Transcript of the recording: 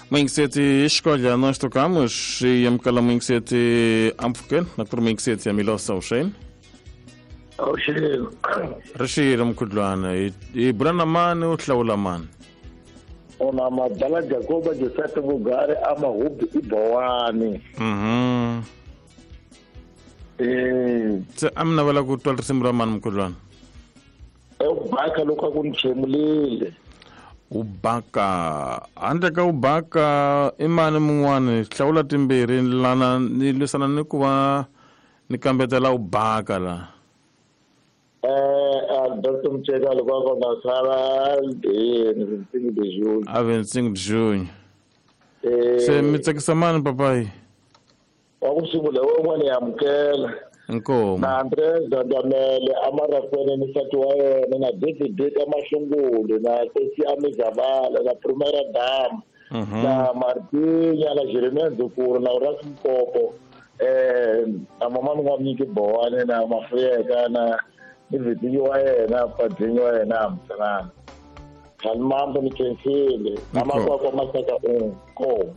Muyingiseti xikodla nós tocamos e amukela muyingiseti ampfukeni na ku ri muyingiseti ya Milosa Ushane. Awuxeni. Ri xile mkhudlwana hi bula na mani u hlawula mani? Una madala Jacoba Joseph Bugari amahubi ibowani. Se a mi navela ku twa risimu ra mani mkhudlwana? Ubaka loko a ku ni chemulile. Ubaka handle ka ubaka i mani mun'wani hlawula timbirhi lana ni lwisana ni ku va ni kambetela ubaka la. Alberto Mcheka loko a kona sala ni de June. A 25 de junho. Se mi tsakisa mani papayi? Wa ku sungula wun'wana ya amukela. Inkomu. Na Andres Dandamele amarakwene ni nsati wa yena na David Deka Mahlungulu na Kosi Amizabala na Primera Dama na Martinya na Jeremiah Ndzukuru na Uras Mpopo na mama ni nga nyiki Bowani na Mafuyeka na ni Vitinyi wa yena Padzinyi wa yena Hamsanana. Khalimambo ni khensile na makwakwa Masaka inkomu.